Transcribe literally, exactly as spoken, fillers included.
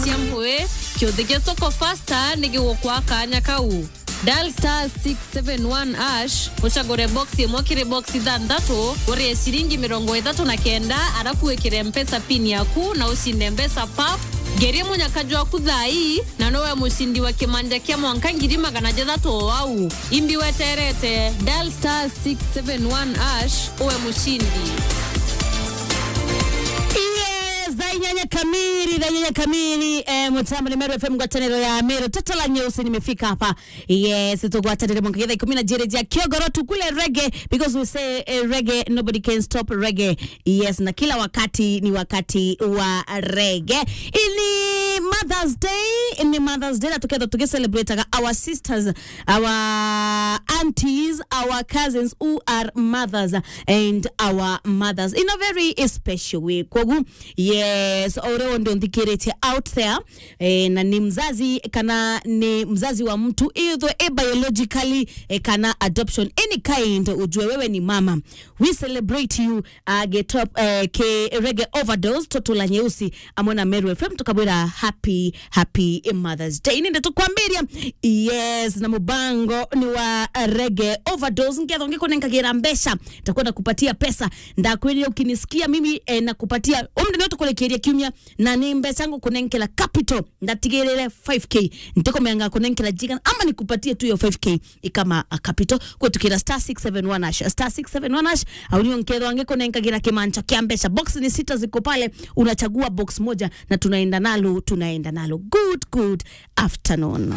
Cia mpwi, kiuthi kia Soko Fasta ni gigukwa kanya kau. Dial star six seven one hash, ucagure box imwe kiri box ithanthatu, urie ciringi mirongo ithatu na kenda, arafu wikire Mpesa pin yaku na ucinde mbeca pap. Ngerie munyaka jwaku thaa ii, na nowe mucindi wa kimanja kia mwanka ngiri magana jathatu o au. Imbi weterete, dial star six seven one hash, uwe mucindi. Yes, thaa inyanya kamili, thaa inyanya kamili, eh, mutambo ni Meru F M, ngwataniro ya Meru. Toto la nyeusi nimefika hapa. Yes, tugwatanire mwanka thaa ikumi na jiri ja kiogoro tukule reggae, because we say, eh, reggae, nobody can stop reggae. Yes, na kila wakati ni wakati wa reggae. Ni Mother's Day, ni Mother's Day, na tuketha tukicelebrataga our sisters, our aunties, our cousins who are mothers and our mothers in a very special way. Kogu, yes, ore onde unthikiritie out there, eh, na ni mzazi kana ni mzazi wa mtu, either a biologically, eh, kana adoption, any kind, ujue wewe ni mama. We celebrate you, uh, get up, uh, ke Reggae Overdose, Toto la Nyeusi, amwe na Meru F M, tukabwira happy, happy Mother's Day. Ninde tukwambiria, yes, na mubango ni wa Reggae Overdose, nketho ngikunenkagira mbeca, ntakwenda kupatia pesa, ndakwirire ukinisikia mimi, eh, na kupatia, umde no tukurekeria kiumia, na ni mbeca ngukunenkera capital, ndatigirire five K, ntikumenga kunenkera jigana, ama nikupatie tu yo five K ikama a capital, kwitukira star six seven one hash, star six seven one hash, au nio nkethwa ngikunenkagira kimancha kia mbeca. Box ni sita ziko pale, unachagua box moja na tunaenda nalo, tunaenda nalo. Good, good afternoon.